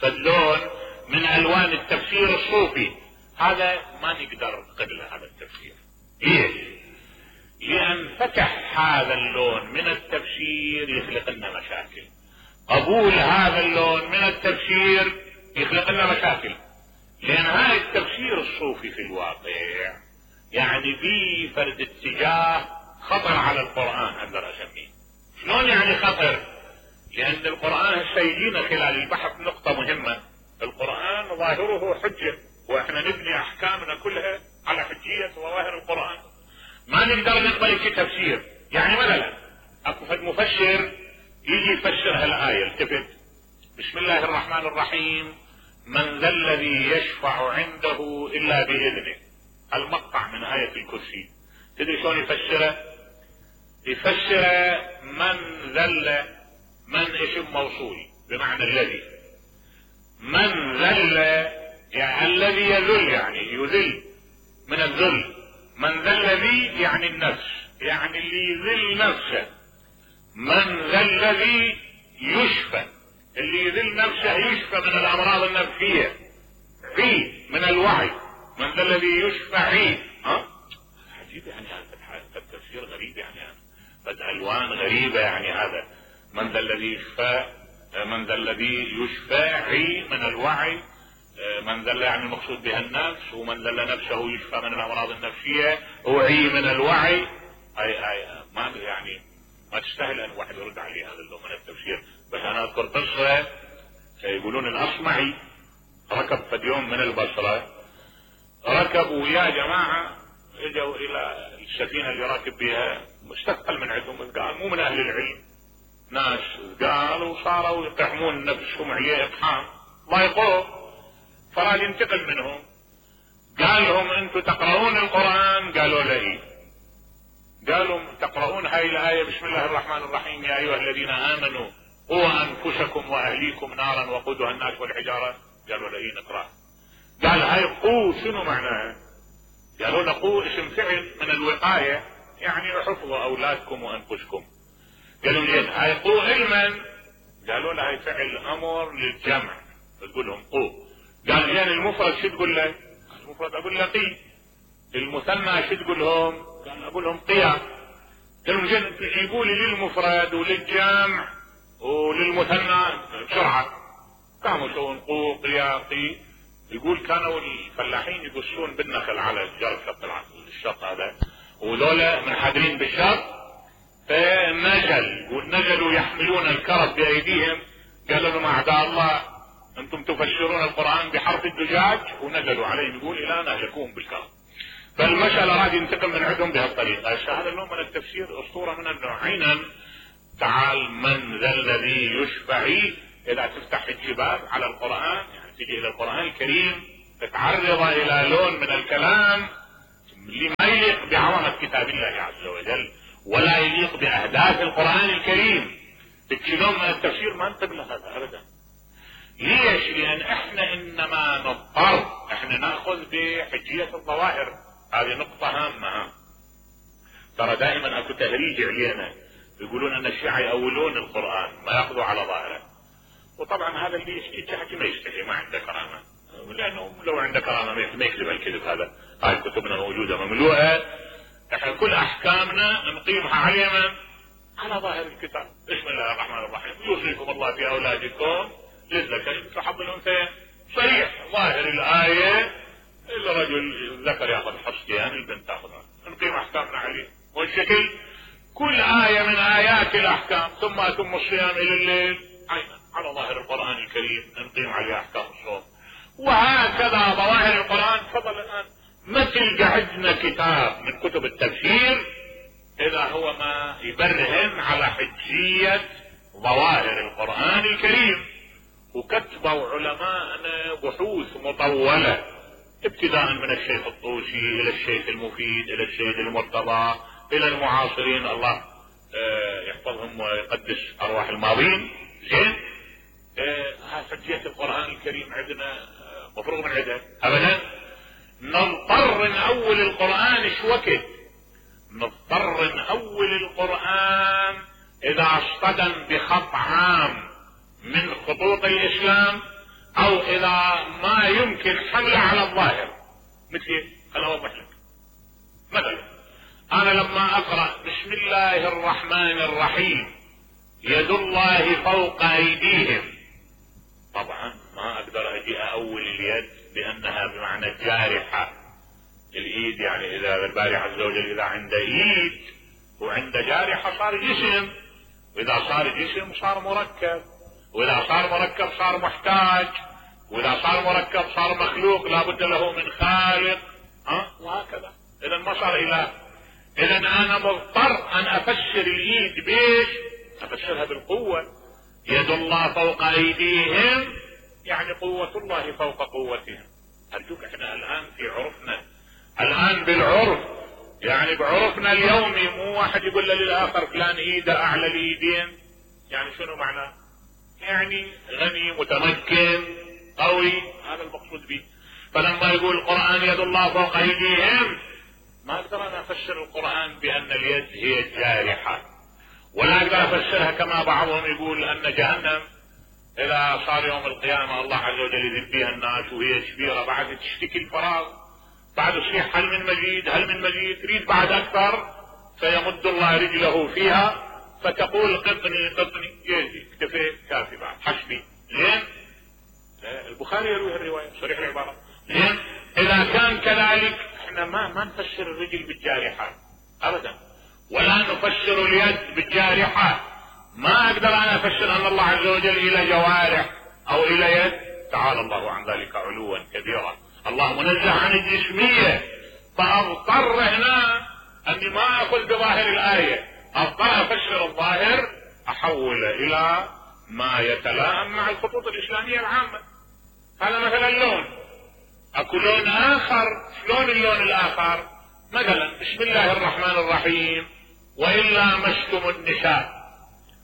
A: فاللون من الوان التفسير الصوفي. هذا ما نقدر قبل هذا التفسير. ليش؟ لان فتح هذا اللون من التفسير يخلق لنا مشاكل. قبول هذا اللون من التفسير يخلق لنا مشاكل، لان هذا التفسير الصوفي في الواقع يعني في فرد اتجاه خطر على القرآن اقدر اسميه. شلون يعني خطر؟ لان القرآن هسه يجينا خلال البحث نقطة مهمة. القرآن ظاهره حجة، واحنا نبني احكامنا كلها على حجية ظواهر القرآن، ما نقدر نقبل شيء تفسير. يعني مثلا اكو فد مفسر يجي يفسر هالآية، التفت بسم الله الرحمن الرحيم من ذا الذي يشفع عنده الا باذنه، المقطع من آية الكرسي. تدري شلون يفسره؟ يفسر من ذل، من اسم موصول بمعنى الذي، من ذل يعني الذي يذل، يعني يذل من الذل. من ذا الذي يعني النفس، يعني اللي يذل نفسه. من ذا الذي يشفى، اللي يذل نفسه يشفى من الامراض النفسية. عي من الوعي، من ذا الذي يشفى عي. ها عجيب يعني هذا التفسير غريب، يعني بدأ الوان غريبة. يعني هذا من ذا الذي يشفى، من ذا الذي يشفى عي من الوعي، من ذل يعني المقصود بها النفس، ومن ذل نفسه يشفى من الامراض النفسية، وعي من الوعي. اي اي ما يعني ما تستاهل ان واحد يرد عليه هذا اللون من التفسير. بس انا اذكر قصة يقولون الاصمعي ركب فد يوم من البصرة، ركبوا يا جماعة اجوا الى السفينة اللي راكب بها مستثقل من عندهم، قال مو من اهل العلم، ناس قالوا صاروا يقحمون نفسهم عليه اقحام ضايقوه، فراد ينتقل منهم. قال لهم انتم تقرؤون القرآن؟ قالوا له. قالوا تقرؤون هاي الآية بسم الله الرحمن الرحيم يا ايها الذين امنوا قوا انفسكم واهليكم نارا وقودها الناس والحجارة؟ قالوا له نقرأ. قال هاي قو شنو معناها؟ قالوا له قو اسم فعل من الوقاية، يعني حفظوا اولادكم وانفسكم. قالوا لي هاي قو علما؟ قالوا له هاي فعل امر للجمع، تقول لهم قو. قال يعني المفرد شو تقول له؟ المفرد اقول له قي. المثنى شو تقول لهم؟ قال اقول لهم قيا. قالوا زين تجيبوا لي للمفرد وللجمع وللمثنى بسرعه. قاموا يسوون قو قيا قي. يقول كانوا الفلاحين يقصون بالنخل على الجرف شط الشط هذا، وذولا منحدرين بالشط، فنزل والنزلوا يحملون الكرب بايديهم. قالوا لهم اعداء الله انتم تفسرون القرآن بحرف الدجاج، ونزلوا عليهم يقول الى نهلكوهم بالكرب. فالمشهد اراد ينتقم من عندهم بهالطريقة. هذا النوع من التفسير اسطورة من النوعين. تعال من ذا الذي يشفعي، اذا تفتح الجبال على القرآن يعني تجي الى القرآن الكريم تتعرض الى لون من الكلام لما يليق بعظمة كتاب الله عز وجل ولا يليق باهداف القرآن الكريم. تكشلون من التفسير ما انتبه لهذا ابدا. ليش؟ لان احنا انما نضطر احنا ناخذ بحجية الظواهر. هذه نقطة هامة. ترى دائما اكو تهريج علينا يقولون ان الشيعة يأولون القرآن ما ياخذوا على ظاهره. وطبعا هذا اللي يشتكي حكي ما يستحي، ما عنده كرامة، لانه لو عنده كرامة ما يكذب الكذب هذا. هاي كتبنا موجودة مملوءة، احنا كل احكامنا نقيمها على من؟ على ظاهر الكتاب. بسم الله الرحمن الرحيم، يوصيكم الله في اولادكم للذكر مثل حظ الانثيين، صريح ظاهر الآية. الرجل ذكر ياخذ حصتين، البنت تاخذها، نقيم احكامنا عليه. والشكل كل آية من آيات الأحكام ثم أتم الصيام إلى الليل عينا على ظاهر القرآن الكريم نقيم عليه أحكام الصوم. وهكذا ظواهر القرآن. تفضل الآن مثل عندنا كتاب من كتب التفسير إذا هو ما يبرهن على حجية ظواهر القرآن الكريم، وكتبوا علماءنا بحوث مطولة ابتداء من الشيخ الطوسي إلى الشيخ المفيد إلى السيد المرتضى الى المعاصرين، الله يحفظهم ويقدس ارواح الماضين. زين، هاي حجية القرآن الكريم عندنا مفروغ من عندها ابدا. نضطر نأول القرآن ايش وقت؟ نضطر نأول القرآن اذا اصطدم بخط عام من خطوط الاسلام او اذا ما يمكن حمله على الظاهر. مثل خليني اوضح لك مثلا، انا لما اقرأ بسم الله الرحمن الرحيم يد الله فوق ايديهم، طبعا ما اقدر اجي اول اليد لانها بمعنى الجارحة. الايد يعني اذا الباري عز وجل اذا عنده ايد وعنده جارحة صار جسم، واذا صار جسم صار مركب، واذا صار مركب صار محتاج، واذا صار مركب صار مخلوق لابد له من خالق، ها وهكذا. اذا ما صار اله. اذا انا مضطر ان افسر الايد بيش؟ افسرها بالقوة. يد الله فوق ايديهم يعني قوة الله فوق قوتهم. ارجوك احنا الان في عرفنا، الان بالعرف يعني بعرفنا اليومي، مو واحد يقول للاخر فلان ايده اعلى الايدين. يعني شنو معناه؟ يعني غني متمكن قوي، هذا المقصود به. فلما يقول القرآن يد الله فوق ايديهم ما اقدر انا افسر القرآن بان اليد هي الجارحة، ولا اقدر افسرها كما بعضهم يقول ان جهنم اذا صار يوم القيامة الله عز وجل يذب فيها الناس وهي كبيرة بعد تشتكي الفراغ، بعد تصيح هل من مزيد هل من مزيد، تريد بعد اكثر، فيمد الله رجله فيها فتقول قطني قطني، يجي اكتفيت كافي بعد حسبي. زين، البخاري يروي الرواية صريح العبارة. زين، اذا كان كذلك احنا ما ما نفسر الرجل بالجارحة ابدا، ولا نفسر اليد بالجارحة. ما اقدر انا افسر ان الله عز وجل الى جوارح او الى يد، تعالى الله عن ذلك علوا كبيرا. الله منزه عن الجسمية، فاضطر هنا اني ما اقول بظاهر الاية، اضطر افسر الظاهر احول الى ما يتلائم مع الخطوط الاسلامية العامة. هذا مثلا اللون، اكو لون اخر. شلون اللون الاخر؟ مثلا بسم الله الرحمن الرحيم والا مستم النساء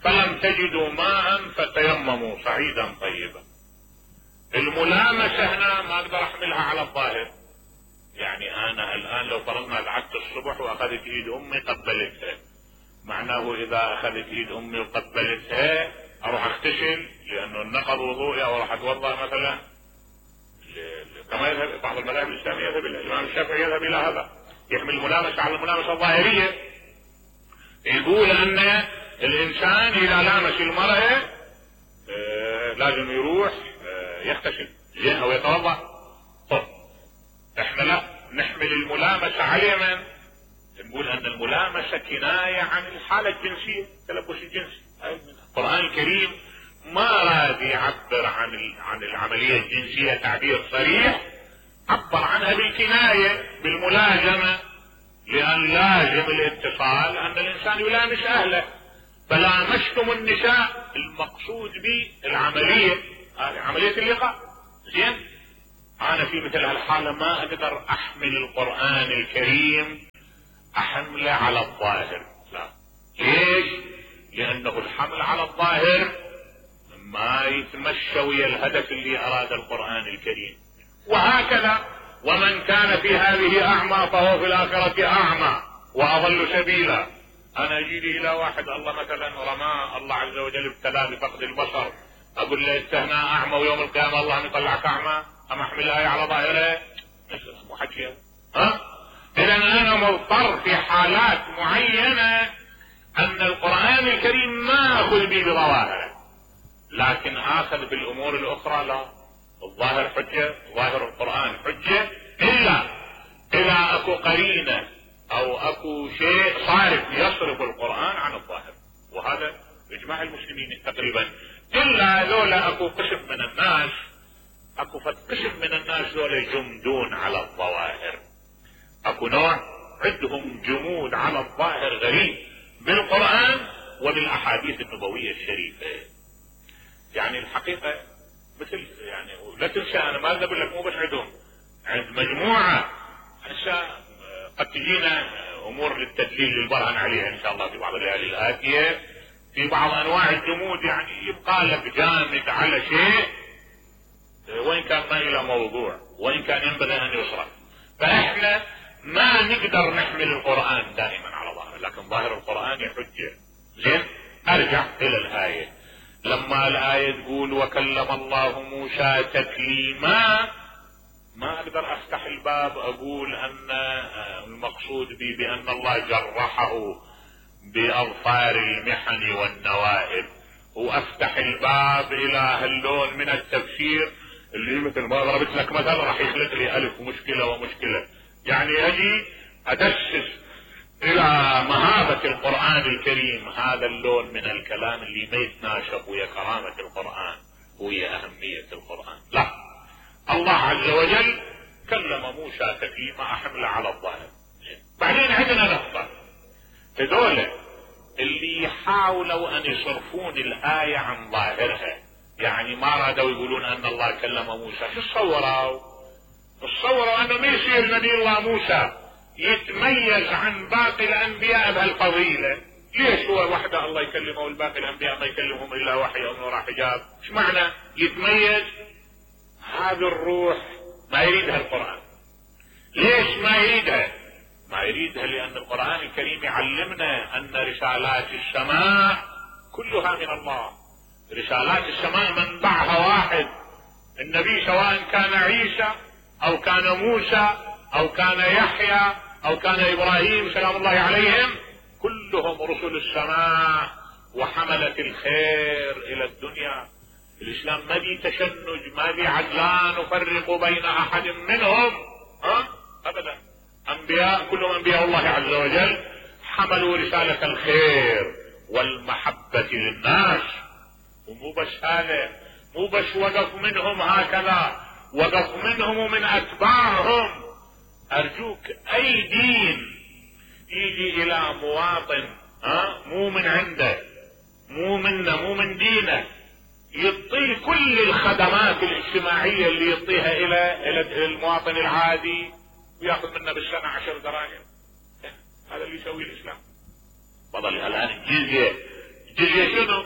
A: فلم تجدوا ماء فتيمموا صعيدا طيبا. الملامسة هنا ما اقدر احملها على الظاهر. يعني انا الان لو فرضنا قعدت الصبح واخذت ايد امي قبلتها، معناه اذا اخذت ايد امي وقبلتها اروح اغتسل لانه النقض وضوئي، او راح اتوضا مثلا كما يذهب بعض المذاهب الاسلاميه، يذهب الامام الشافعي يذهب الى هذا، يحمل الملامسه على الملامسه الظاهريه. يقول ان الانسان اذا لامس المرأة آه لازم يروح آه يغتسل زين او يتوضا. طب احنا لا نحمل الملامسه على من؟ نقول ان الملامسه كنايه عن الحاله الجنسيه، التلبس الجنسي. القرآن الكريم ما راد يعبر عن عن العمليه الجنسيه تعبير صريح، عبر عنها بالكنايه بالملازمه، لان لازم الاتصال ان الانسان يلامس اهله. فلامستم النساء المقصود به العمليه، هذه عمليه اللقاء. زين، انا في مثل هالحاله ما اقدر احمل القرآن الكريم احمله على الظاهر، لا. ليش؟ لانه الحمل على الظاهر ما يتمشى ويا الهدف اللي اراد القرآن الكريم. وهكذا ومن كان في هذه اعمى فهو في الاخرة اعمى واضل سبيلا. انا اجي لي الى واحد الله مثلا رماه الله عز وجل ابتلاه بفقد البصر، اقول له انت هنا اعمى ويوم القيامه الله يطلعك اعمى؟ ام احمل الايه على ظاهره؟ مو حكي. ها؟ اذا انا مضطر في حالات معينه ان القرآن الكريم ما اخذ به بظواهره، لكن اخذ بالامور الاخرى لا. الظاهر حجة، ظاهر القرآن حجة، الا اذا اكو قرينة او اكو شيء صارف يصرف القرآن عن الظاهر، وهذا اجماع المسلمين تقريبا، الا لولا اكو قسم من الناس، اكو قسم من الناس لولا جمدون على الظواهر، اكو نوع عندهم جمود على الظاهر غريب بالقرآن وبالاحاديث النبوية الشريفة. يعني الحقيقة مثل يعني لا تنسى انا ما اقول لك مو بس عندهم، عند مجموعة هسه قد تجينا امور للتدليل للبرهن عليها ان شاء الله في بعض الليالي الاتية، في بعض انواع الجمود يعني يبقى لك جامد على شيء وان كان ما الى موضوع وان كان ينبغي ان يصرف. فاحنا ما نقدر نحمل القرآن دائما على ظاهره، لكن ظاهر القرآن يحجه. زين، ارجع الى الآية. لما الآية تقول وكلم الله موسى تكليما، ما اقدر افتح الباب اقول ان المقصود بي بان الله جرحه باظفار المحن والنوائب، وافتح الباب الى هاللون من التفسير اللي مثل ما ضربت لك مثلا راح يخلق لي الف ومشكلة ومشكلة. يعني اجي ادسس الى مهابة القرآن الكريم هذا اللون من الكلام اللي ما يتناسب ويا كرامة القرآن ويا اهمية القرآن. لا، الله عز وجل كلم موسى تكليما احمل على الظاهر. بعدين عندنا نقطة، هذول اللي يحاولوا ان يصرفون الآية عن ظاهرها، يعني ما رادوا يقولون ان الله كلم موسى، شو تصوروا؟ تصوروا انه ما يصير نبي الله موسى يتميز عن باقي الانبياء بهالفضيلة. ليش هو وحده الله يكلمه والباقي الانبياء ما يكلمهم الا وحي او نور حجاب؟ ايش معنى يتميز؟ هذه الروح ما يريدها القرآن. ليش ما يريدها؟ ما يريدها لان القرآن الكريم يعلمنا ان رسالات السماء كلها من الله. رسالات السماء منبعها واحد، النبي سواء كان عيسى او كان موسى او كان يحيى او كان ابراهيم سلام الله عليهم، كلهم رسل السماء وحملة الخير الى الدنيا. الاسلام ما بي تشنج، ما بي عدلان نفرق بين احد منهم، ها ابدا. انبياء كلهم انبياء الله عز وجل حملوا رسالة الخير والمحبة للناس. ومو بس هذا، مو بس وقف منهم هكذا، وقف منهم ومن اتباعهم. ارجوك اي دين يجي الى مواطن ها مو من عنده، مو منه، مو من دينه، يعطيه كل الخدمات الاجتماعية اللي يعطيها الى الى المواطن العادي وياخذ منه بالسنة عشر دراهم. هذا اللي يسويه الاسلام. بطل الان الجزية، الجزية شنو؟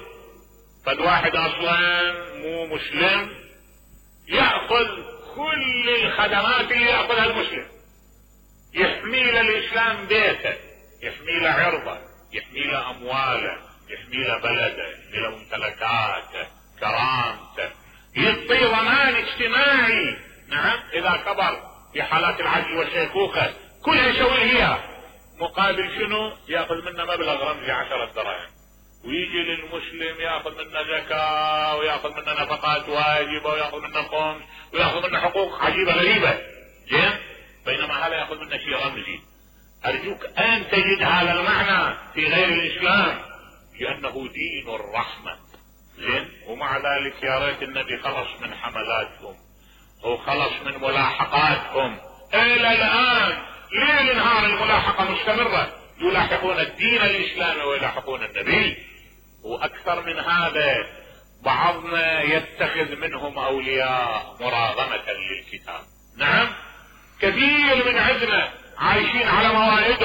A: فد واحد اصلا مو مسلم يأخذ كل الخدمات اللي يأخذها المسلم، يحمي له الاسلام بيته، يحمي له عرضه، يحمي له امواله، يحمي له بلده، يحمي له ممتلكاته، كرامته، يعطي ضمان اجتماعي. نعم، اذا كبر في حالات العجز والشيخوخة كلها يسوي هي، مقابل شنو؟ ياخذ منه مبلغ رمزي عشرة دراهم، ويجي للمسلم ياخذ منه زكاة وياخذ منه نفقات واجبة وياخذ منه خمس وياخذ منه حقوق عجيبة غريبة. زين، بينما هذا ياخذ منه شيء رمزي. ارجوك ان تجد هذا المعنى في غير الاسلام، لانه دين الرحمة. زين، ومع ذلك يا ريت النبي خلص من حملاتهم وخلص من ملاحقاتهم الى الان. ليل نهار الملاحقة مستمرة، يلاحقون الدين الاسلامي ويلاحقون النبي. واكثر من هذا بعضنا يتخذ منهم اولياء مراغمة للكتاب. نعم، كثير من عندنا عايشين على موائد